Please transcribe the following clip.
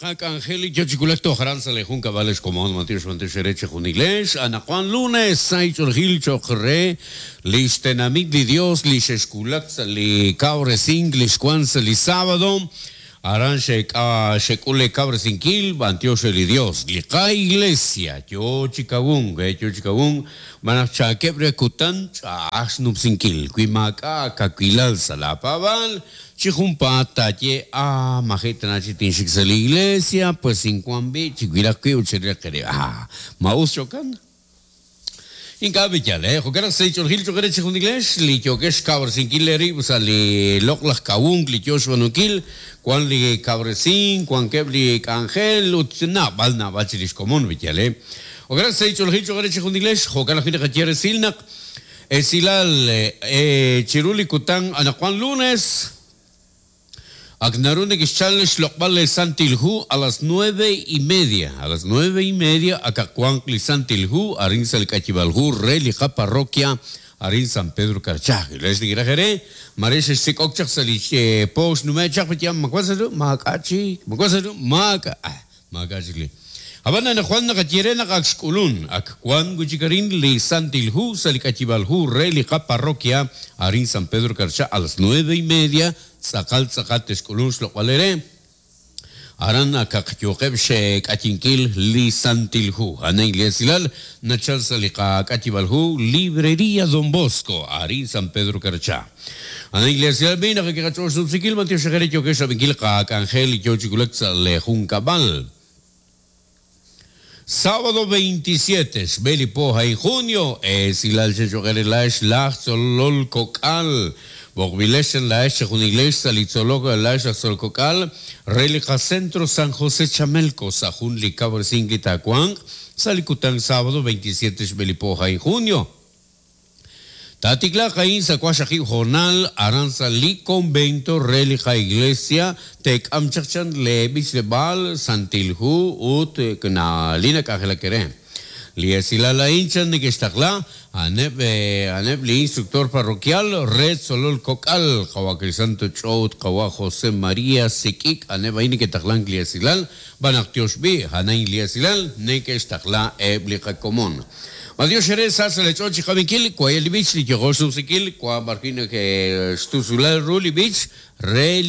Qak'anjel li yo chi wulak toj aran sa' li junkab'al ex komon, b'antiox b'antiox eere chejunilex. Anaqwan lunes sahil ch'oolejil cho'q re li xtenamit li Dios li xexwulak sa' li kawresink li xwank sa' li sábado. Aran xeek'a xek'ul eekawresinkil, b'antiox re li Dios. Li qa-iglesia yo chi kawunk, yo chi kawunk, xb'aan naq chaakeb' re kutan ch'a'aj xnumsinkil. Wi maak'a' aakawilal sa' laapaab'aal, Chi junpaat taaye, Ah, maji' tana chi tinxik sa' li iglesia, pues inwank b'i', chiwilaq wib' ut chirilaq eerib'. Ah, ma us jo'kan? Ink'a' b'i' yaal, eh? Jo'kan naq sa' li ch'oolejil cho'q eere chejunilex li yookex xkawresinkil eerib' sa' li loq'laj kawunk li yoo xb'aanunkil, wan li kawresink, wankeb' li k'anjel ut naab'al naab'al chirix xkomon b'i' yaal, eh? Jo'kan naq sa' li ch'oolejil cho'q eere chejunilex, jo'kan ajwi' naqaye resil naq Esilal, Chiru li kutan anaqwan lunes, ak naru nekexchal xloq'b'al li Santil Hu a las nueve y media. A las nueve y media akaq wanq li Santil Hu arin sa' li k'ayib'aal hu re li qaparroquia arin San Pedro Carchá. Lex ninkiraj eere, maare xexsik'ok chaq sa' li po xnume' chaq, ma wank sa' ru? Maak'a' chik. Ma wank sa' ru? Maak'a'. Maak'a' chik li. Ab'an anaqwan naqaye re naq ak xk'ulun, ak wank wi' chik arin li Santil Hu sa' li k'ayib'aal hu re li qaparroquia arin San Pedro Carchá a las nueve y media tz'aqal tz'aqal texk'ulun xloq'b'al eere. Aran akaq yooqeb' xk'ayinkil li Santil Hu. A'an a'in li esilal nachal sa' li qak'ayib'aal hu Librería Don Bosco arin San Pedro Carchá. Ana Iglesia b'i' naq kiqach'ool xnumsinkil b'antiox re yookex rab'inkil qak'anjel li yoo chi wulak sa' lee junkab'al. Sábado 27, xb'e li po a'in junio, esilal xechoq eere laa'ex laj tzolol kok'al. B'oqb'ilex laa'ex chejunilex sa' li tzolok laa'ex aj tzolol kok'al re li qaCentro San José Chamelco sa' jun li kawresink li taawanq sa' li kutan sábado 27 xb'e li po a'in junio. Taatiklaaq a'in sa' waqxaqib' hoonal aran sa' li konvento re li qaiglesia, teek'am chaq chan lee b'ichleb'aal, Santil Hu ut li nak'anjelak eere. Li esilal a'in chan neke'xtaqla, a'aneb' a'aneb' li instructor parroquial re tzolol kok'al, Qawa' Crisanto Ch'o ut Qawa' José María Sik'ik, a'aneb' a'in neke'taqlank li esilal, xb'aan naq tiox b'i', a'an a'in li esilal neke'xtaqla eb' li qakomon. B'antiox eere sa sa' leech'ool chi qab'inkil, waye' li b'ich li yooko xnumsinkil, wa b'arwi' nake xtusulal ru li b'ich re li.